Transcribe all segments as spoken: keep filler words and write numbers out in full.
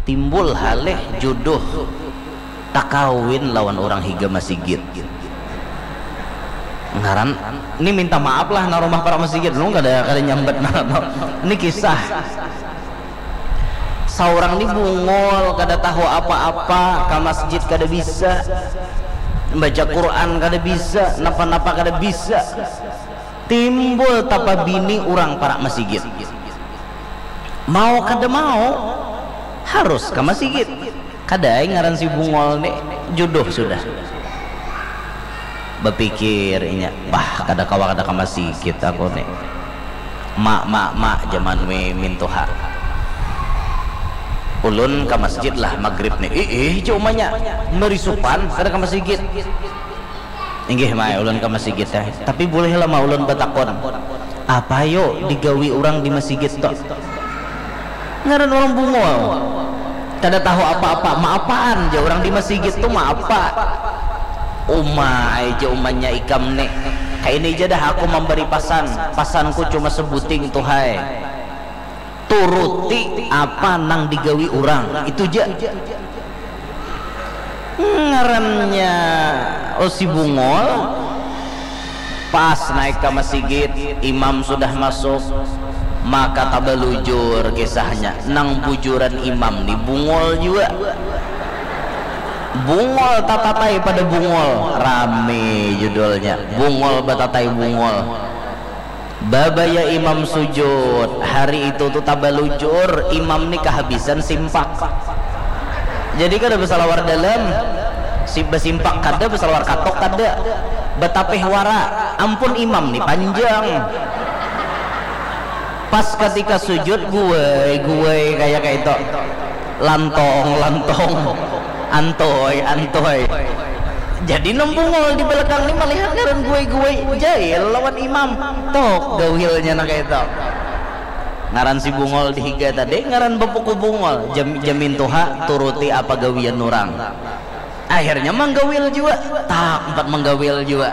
Timbul halih juduh takawin lawan urang higa masigit. Ngaran, ni minta maaf lah nang rumah parak masigit, ulun kada, kada nyambat nang apa. Ni kisah. Saurang ni bungul, kada tahu apa-apa, ka masjid kada bisa, baca Quran kada bisa, napa-napa kada bisa. Timbul tapabini urang parak masigit. Mau kada mau, harus ka masigit. Kada ai ngaran si bungul ni, juduh sudah. Bapikir inya, bah, kada kawa kada ka masigit aku ni. Mak, mak, mak, jaman mi mintuha. Ulun ka masjid lah magrib ni. Ih, ih, ja umanya. Marisupan, kada ka masigit. Inggih, mai, ulun ka masigit ai. Tapi bulih lah ma ulun batakun, apa yo digawi urang di masigit tu? Ngaran urang bungul. Kada tahu apa-apa. Maapaan ja urang di masigit tu, maapa? Uma ai ja umanya ikam ni. Kaini ja dah aku mambari pasan. Pasanku cuma sebuting tu, hai. Turuti apa nang digawi urang. Itu ja. Ngarannya, oh, si bungul. Pas naik ka masigit, imam sudah masuk, maka tabalujur kisahnya. Nang bujuran imam ni bungul jua. Bungul tatatai pada bungul, rami judulnya. Bungul batatai bungul. Babaya imam sujud, hari itu tu tabalujur, imam ni kahabisan simpak. Jadi kada basalawar dalam, si-, basimpak kada, basalawar katok kada, batapih wara, ampun imam ni panjang. Pas katika sujud, guai, guai, kaya kaitu. Lantong, lantong. Antoi, antoi. Jadi nang bungul di balakang ni malihat ngaran guai-guai, jail lawan imam. Tok gawilnya nang kaitu. Ngaran si bungul di higa tadi ngaran bapuku bungul. Jam, jamin tuha turuti apa gawian urang. Akhirnya manggawil jua. Tak, umpat manggawil jua.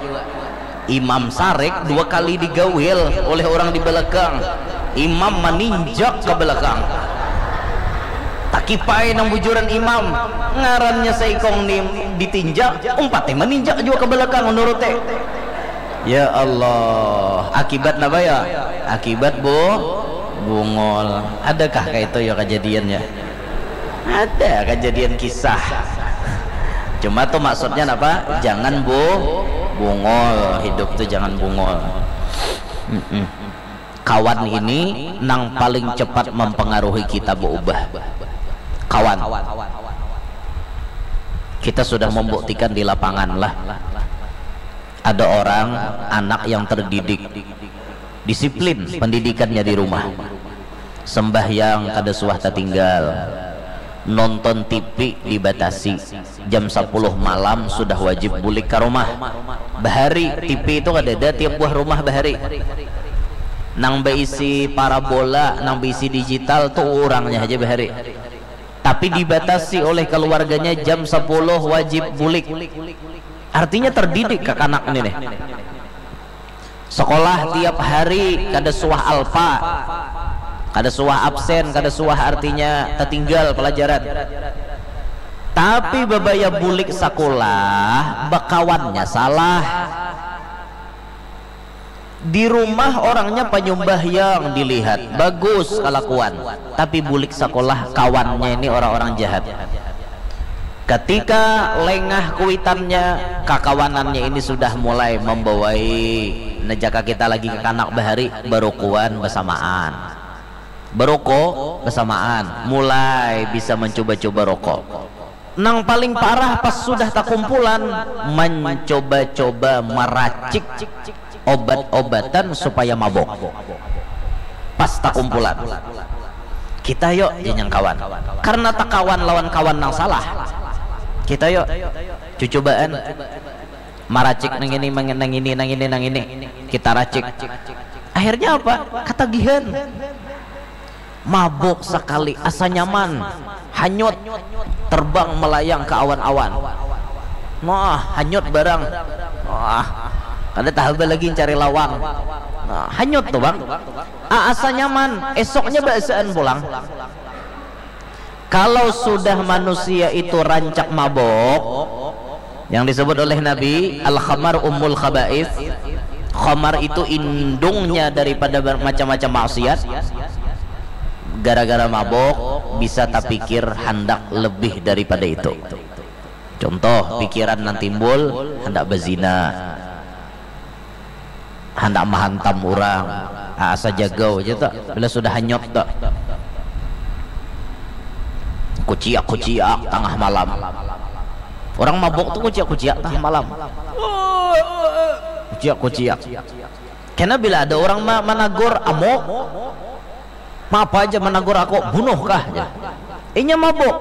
Imam sarik dua kali digawil oleh urang di balakang. Imam maninjak ka balakang. Takipai nang bujuran imam. Ngarannya saikung ni ditinjak, umpati maninjak jua ka balakang, nuruti. Ya Allah, akibat napa ya? Akibat bu-, bungul. Adakah kaitu ya kajadiannya? Ada kajadian kisah. Cuma tu maksudnya napa? Jangan bu-, bungul. Hidup tu jangan bungul. Mm-mm. Kawan ini nang paling cepat mempengaruhi kita beubah. Kawan. Kita sudah membuktikan di lapangan lah. Ada orang, anak yang terdidik, disiplin pendidikannya di rumah. Sembahyang kada suah tatinggal. Nonton T V dibatasi. Jam sapuluh malam sudah wajib bulik ka rumah. Bahari, T V itu kadada tiap buah rumah bahari. Nang baisi parabola, nang baisi digital tu urangnya haja bahari. Tapi dibatasi oleh keluarganya, jam sapuluh wajib bulik. Artinya terdidik kakanak ni nih. Sekolah tiap hari kada suah alpa, kada suah absen, kada suah artinya tertinggal pelajaran. Tapi babaya bulik sekolah, bekawannya salah. Di rumah orangnya panyumbahyang dilihat, bagus kalakuan. Tapi bulik sekolah kawannya ini orang-orang jahat. Ketika lengah kuitannya, kakawanannya ini sudah mulai membawai, nah, jaka kita lagi kakanak bahari, barukuan bersamaan. Berokok bersamaan, mulai bisa mencoba-coba rokok. Nang paling parah pas sudah takumpulan, mencoba-coba meracik obat-obatan supaya mabok. Pas takumpulan. Kita yuk, janyang kawan. Karena takawan lawan kawan nang salah. Kita yuk, cucubaan. Maracik nang ini, nang ini, nang ini, nang ini. Kita racik. Akhirnya apa? Katagihan. Mabuk sakali, asa nyaman. Hanyut. Terbang melayang ke awan-awan. Wah, hanyut barang. Wah, kada tahaba lagi cari lawang. Nah, hanyut tuh, Bang. Ah, asa nyaman. Esoknya baasaan pulang. Kalau sudah manusia itu rancak mabok, yang disebut oleh Nabi, "Al-khamar ummul khaba'ith." Khamar itu indungnya daripada ber-, macam-macam maksiat. Gara-gara mabok, bisa tapikir handak lebih daripada itu. Contoh, pikiran nang timbul, handak bazina. Handak mahantam urang. Ah, asa jagau ja tu. Bila sudah hanyut tu. Kuciak-kuciak tangah malam. Urang mabuk tu kuciak-kuciak tangah malam. Kuciak-kuciak. Kena bila ada urang ma-, managur, "Amuk, ma apa ja managur aku, bunuh kah?" jar. Inya mabuk.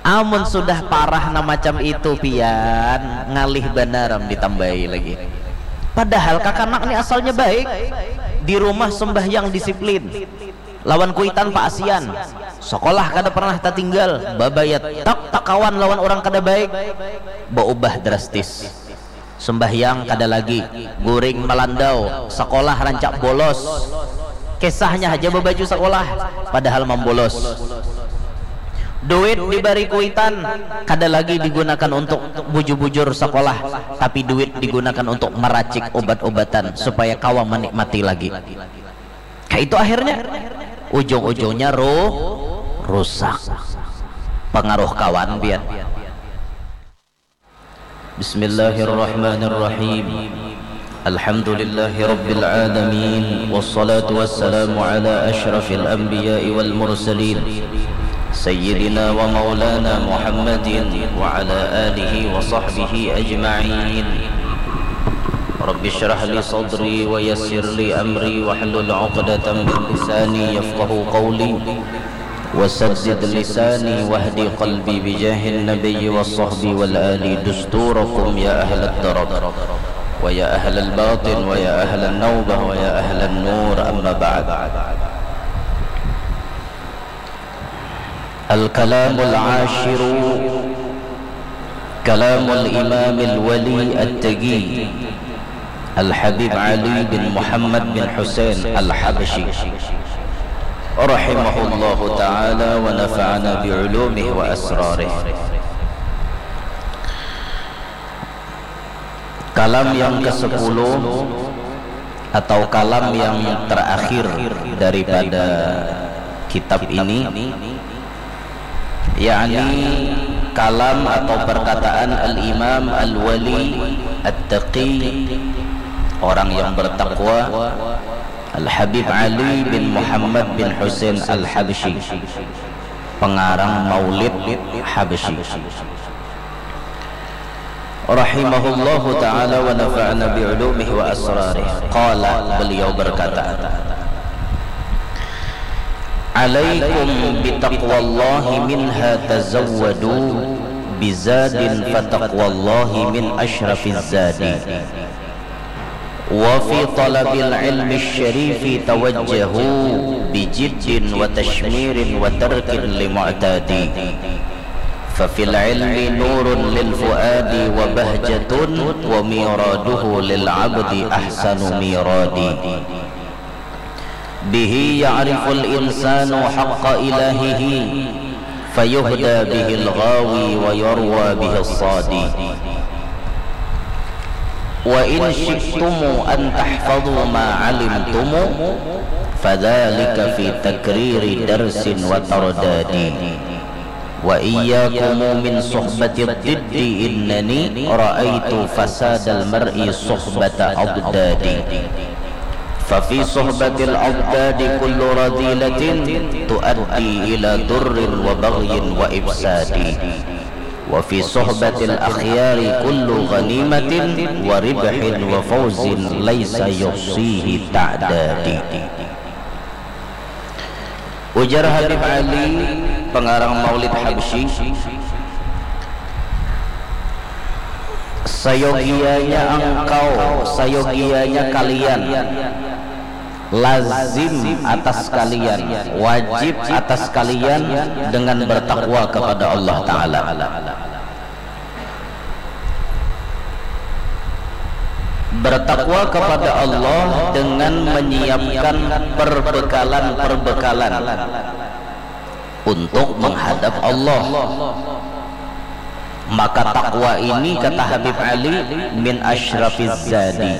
Amun sudah parah nang macam itu, pian, ngalih banar am ditambahi lagi. Padahal kakanak ni asalnya baik. Di rumah sembahyang disiplin. Lawan kuitan paasian. Sekolah kada pernah tatinggal. Babaya tak takawan lawan urang kada baik. Baubah drastis. Sembahyang kada lagi, guring malandau, sekolah rancak bolos. Kisahnya haja babaju sekolah, padahal mambolos. Duit dibari kuitan, kada lagi digunakan untuk bujur-bujur sekolah, tapi duit digunakan untuk meracik obat-obatan supaya kawa menikmati lagi. Kayak itu akhirnya, ujung-ujungnya ruh, rusak. Pengaruh kawan, pian. Bismillahirrahmanirrahim. Alhamdulillahi rabbil alamin. Wassalatu wassalamu ala asyrafil anbiya'i wal mursalin. Sayyidina wa maulana Muhammadin wa ala alihi wa sahbihi ajma'in. Rabbi syrah li sadri wa yassir li amri wahlul uqdatan min lisani yafqahu qawli. Wasaddid lisani wahdi qalbi bijahin nabiyyi wa sahbi wal ali dusturakum ya ahlad darar wa ya ahlal batin wa ya ahlan naubah wa ya ahlan nur, amma ba'd. Al-kalamul ashiru kalamul imamil wali at-taqi Al-Habib Ali bin Muhammad bin Husain Al-Habsyi rahimahullahu ta'ala wa nafa'ana bi ulumihi wa asrarih. Kalam yang kesepuluh atau kalam yang terakhir daripada kitab ini, yakni kalam atau perkataan Al-Imam Al-Wali At-Taqi, orang yang bertakwa, Al-Habib Ali bin Muhammad bin Husain Al-Habsyi, pengarang Maulid Habsyi, rahimahullahu ta'ala wa nafa'ana bi ulumihi wa asrarih. Qala, beliau berkata, "Alaikum bitaqwallahi minha tazawwadu, bizadin fataqwallahi min ashrafiz zadi. Wa fi talabil ilmi syarifi tawajjahu, bijiddin wa tashmirin wa tarkin li mu'tadi. Fa fil ilmi nurun lil fuadi wa bahjatun, wa miraduhu lil abdi ahsanu miradi. Bihi ya'riful insanu haqqa ilahihi, fayuhda bihil ghawi wa yarwa bihis sadi. Wa in syi'tumu an tahfadhu ma alimtumu, fadhalika fi takriri darsin wa tardadi. Wa iyyakumu min suhbatid diddi, innani ra'aitu fasadal mar'i suhbata adadi. Fa fi suhbatil adadi kullu radilatin tuaddi ila durrin wa baghyin wa ifsadi. Wa fi suhbatil akhyari kullu ghanimatin wa ribhin wa fawzin laisa yuhsihi ta'dadi." Ujar Habib Ali, pengarang Maulid Habsyi, "Sayogianya engkau, sayogianya kalian, lazim atas kalian, wajib atas kalian dengan bertakwa kepada Allah Ta'ala." Bertakwa kepada Allah dengan menyiapkan perbekalan-perbekalan untuk menghadap Allah. Maka takwa ini, kata Habib Ali, min asyrafiz zadi,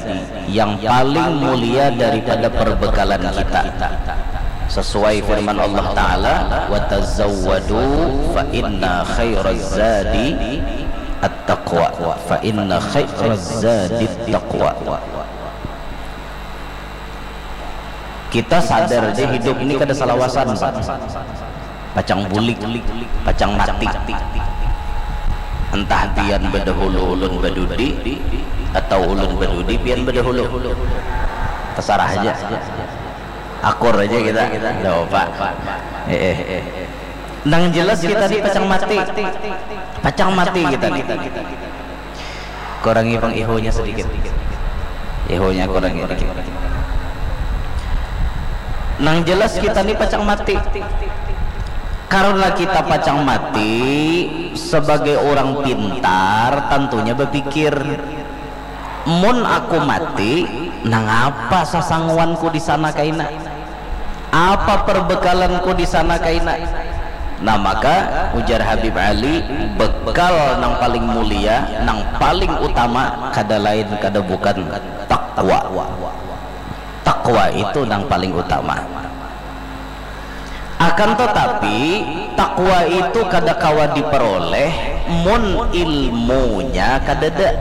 yang paling mulia daripada perbekalan kita. Sesuai firman Allah Ta'ala, "Wa tazawwadu fa inna khairaz zadi at-taqwa, fa inna khairaz zadi taqwa." Kita sadar aja hidup ini kada salawasan, Pak. Pacang bulik, pacang mati. Entah pian badahulu ulun badudi, atau ulun badudi pian badahulu. Tasarah aja. Akur aja kita. Ada apa? Eh, eh. Nang jelas kita ni pacang mati. Pacang mati kita ni. Kurangi pang ihunya sedikit. Ihunya kurangi sedikit. Nang jelas kita ni pacang mati. Karena kita pacang mati, sebagai orang pintar, tentunya berpikir, "Mun aku mati, nangapa sasanguanku di sana kaina? Apa perbekalanku di sana kaina?" Nah, maka ujar Habib Ali, bekal nang paling mulia, nang paling utama, kada lain, kada bukan, takwa. Takwa itu nang paling utama. Akan tetapi, takwa itu kada kawa diperoleh mun ilmunya kadada.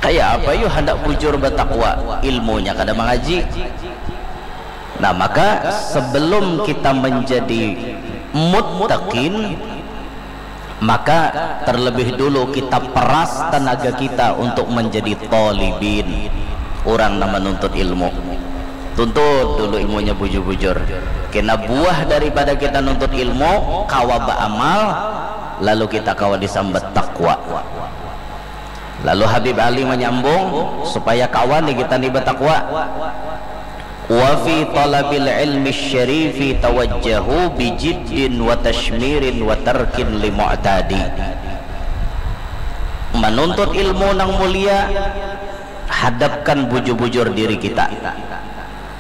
Kayak apa yu handak bujur batakwa, ilmunya kada mangaji. Nah, maka sebelum kita menjadi muttaqin, maka terlebih dulu kita peras tenaga kita untuk menjadi talibin, orang nang menuntut ilmu. Tuntut dulu ilmunya bujur-bujur. Kena buah daripada kita nuntut ilmu, kawa baamal, lalu kita kawa disambat takwa. Lalu Habib Ali menyambung, supaya kawa nih kita nih batakwa. "Wa fi talabil ilmi syarifi tawajjahu bijiddin wa tashmirin wa tarkin li mu'tadi." Menuntut ilmu nang mulia, hadapkan bujur-bujur diri kita.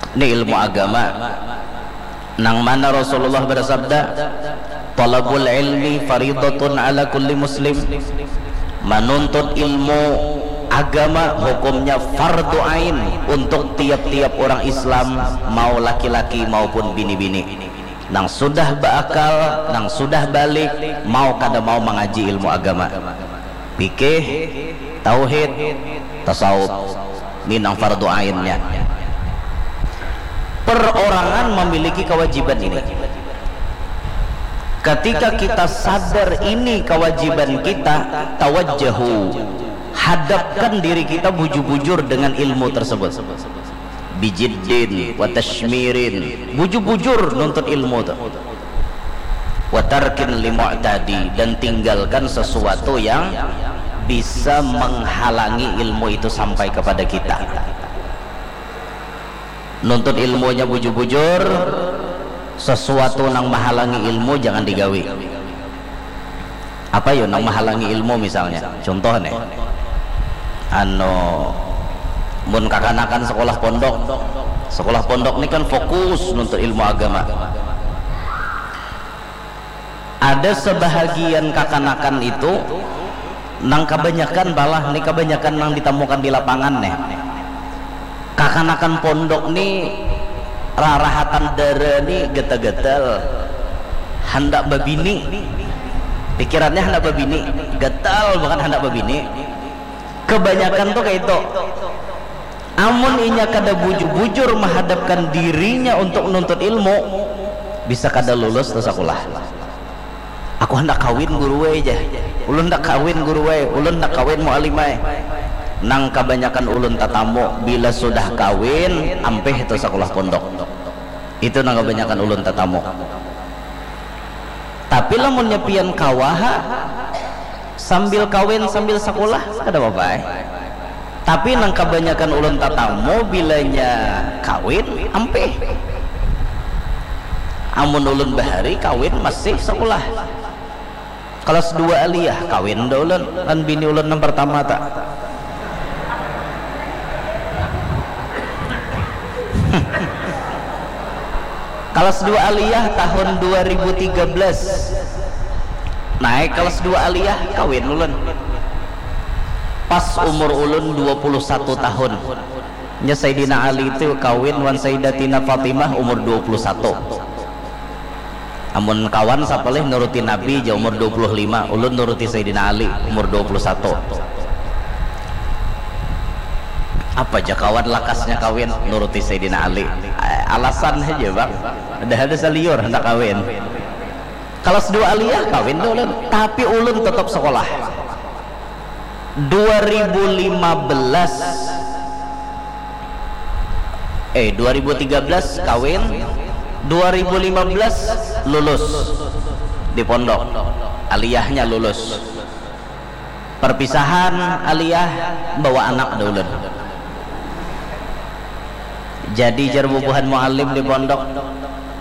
Ini ilmu agama. Nang mana Rasulullah bersabda, "Talabul ilmi faridatun ala kulli muslim." Menuntut ilmu agama hukumnya fardu ain untuk tiap-tiap orang Islam, mau laki-laki maupun bini-bini. Nang sudah beakal, nang sudah balik, mau kada mau mengaji ilmu agama. Fikih, tauhid, tasawuf. Ini nang fardu ainnya. Perorangan memiliki kewajiban ini. Ketika kita sadar ini kewajiban kita, tawajjahu, hadapkan diri kita bujur-bujur dengan ilmu tersebut. Bijiddin wa tashmirin, bujur-bujur nuntut ilmu tu. Wa tarkin li mu'tadi, dan tinggalkan sesuatu yang bisa menghalangi ilmu itu sampai kepada kita. Nuntut ilmunya bujur-bujur, sesuatu nang menghalangi ilmu jangan digawi. Apa yo nang menghalangi ilmu misalnya? Contoh nih, anu, mun kakanakan sekolah pondok, sekolah pondok ini kan fokus nuntut ilmu agama. Ada sebahagian kakanakan itu nang kabanyakan, balah ni kabanyakan nang ditamukan di lapangan nih. Kakanakan pondok ni rarahatan dara ni getal-getal, handak babini. Pikirannya handak babini, getal banget handak babini. Kebanyakan tuh kayak itu. Amun inya kada bujur-bujur menghadapkan dirinya untuk nuntut ilmu, bisa kada lulus tuh sekolah. "Aku hendak kawin guru wae," jar. "Ulun hendak kawin guru wae, ulun hendak kawin mualim wae." Nang kabanyakan ulun tatamu, bila sudah kawin, ampih itu sekolah pondok. Itu nang kabanyakan ulun tatamu. Tapi lamunnya pian kawaha, sambil kawin sambil sekolah, kada apa-apa ai. Tapi nang kabanyakan ulun tatamu bilanya kawin, ampih. Amun ulun bahari kawin masih sekolah. Kelas dua aliyah, kawin dah ulun. Kan bini ulun nang pertama tak. Kelas dua aliyah tahun dua ribu tiga belas. Naik kelas dua aliyah, kawin ulun. Pas umur ulun dua puluh satu tahun. Nya Sayyidina Ali itu kawin wan Sayyidatina Fatimah umur dua puluh satu. Amun kawan sapalih nuruti Nabi ja umur dua puluh lima, ulun nuruti Sayyidina Ali umur dua puluh satu. Apa ja kawan lakasnya kawin nuruti Sayyidina Ali. Eh, alasan aja, Bang. Ada ada saliur hendak kawin. Kelas dua aliyah kawin tu ulun, tapi ulun tetap sekolah. Dua ribu lima belas, eh, dua ribu tiga belas kawin, dua ribu lima belas lulus di pondok, aliyahnya lulus. Perpisahan aliyah, bawa anak dah ulun. Jadi jar bubuhan muallim di pondok,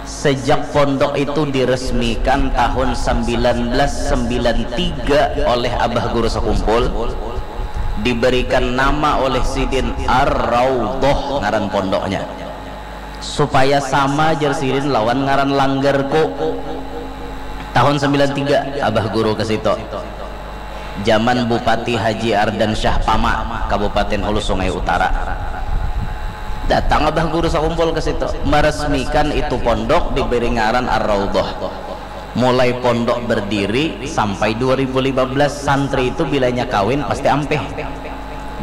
sejak pondok itu diresmikan tahun sembilan belas sembilan tiga oleh Abah Guru Sekumpul, diberikan nama oleh sidin Ar-Raudhah ngaran pondoknya. Supaya sama jar sidin lawan ngaran langgarku. Tahun sembilan tiga Abah Guru ke situ. Zaman Bupati Haji Ardan Syah Pama, Kabupaten Hulu Sungai Utara. Datang Abah Guru Sakumpul ke situ, meresmikan itu pondok, diberi ngaran Ar-Raudhah. Mulai pondok berdiri sampai dua ribu lima belas, santri itu bilanya kawin pasti ampih.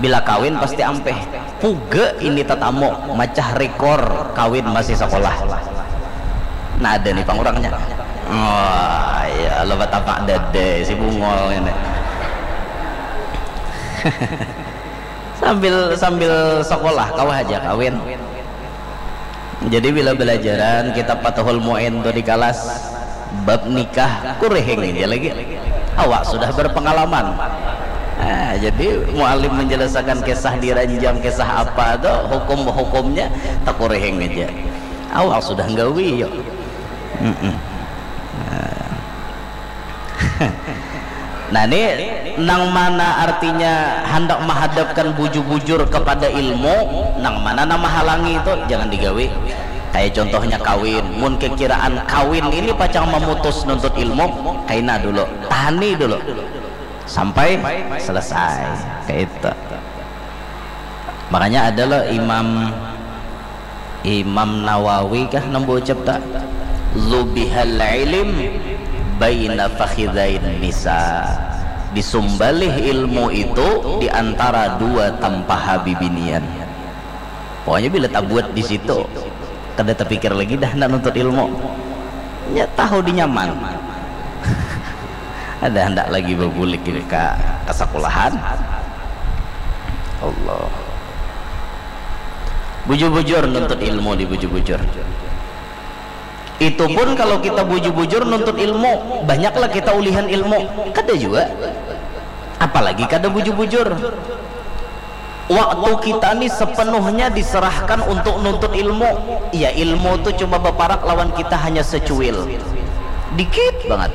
Bila kawin pasti ampih. Puga ini tatamu macah rekor kawin masih sekolah. Nah, ada nih pangurangnya. Oh, ya Allah, batapak dada si bungol ini. Sambil, sambil sekolah, kawa aja kawin. Jadi, bila belajaran kitab Fathul Mu'in tu di kalas, bab nikah, kurihing aja lagi. Awak sudah berpengalaman. Nah, jadi, mualim menjelaskan kisah diranjam, kisah apa tu, hukum-hukumnya, takurihing aja. Awak sudah nggawi, yuk. Mm-mm. Nah. Nah, ini nang mana artinya handak mahadapkan bujur-bujur kepada ilmu, nang mana nang mahalangi itu jangan digawi. Kayak contohnya kawin, mun kekiraan kawin ini pacang memutus nuntut ilmu, kaina dulu, tahani dulu sampai selesai, kayak itu. Makanya ada lo Imam Imam Nawawi kah nang baucap ta? Zubihal ilim baina fakhidain nisa. Disumbalih ilmu itu di antara dua tampaha bibinian. Pokoknya bila tabuat di situ, kada tapikir lagi dah nak nuntut ilmu. Nya tahu di nyaman. Ada handak lagi babulik ini ka, ka sakulahan. Allah. Bujur-bujur nuntut ilmu di bujur-bujur. Itu pun kalau kita bujur-bujur nuntut ilmu, banyaklah kita ulihan ilmu. Kada juga. Apalagi kada bujur-bujur. Waktu kita ni sepenuhnya diserahkan untuk nuntut ilmu. Ya, ilmu tu cuma baparak lawan kita hanya secuil. Dikit banget.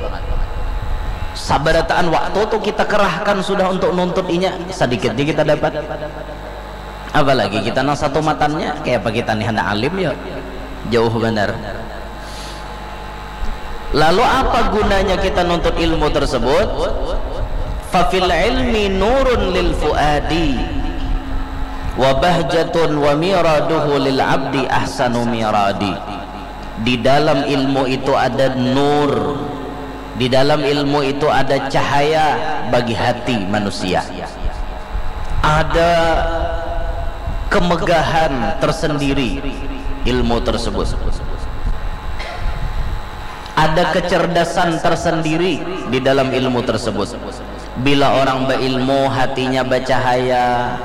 Sabarataan waktu tu kita kerahkan sudah untuk nuntut inya, sedikit je kita dapat. Apalagi kita nang satu matannya, kayak apa kita nih anak alim ya? Jauh benar. Lalu apa gunanya kita nuntut ilmu tersebut? Fafil ilmi nurun lil fuadi wa bahjatun wa miraduhu lil abdi ahsanu miradi. Di dalam ilmu itu ada nur. Di dalam ilmu itu ada cahaya bagi hati manusia. Ada kemegahan tersendiri ilmu tersebut. Ada kecerdasan tersendiri di dalam ilmu tersebut. Bila orang berilmu, hatinya bercahaya,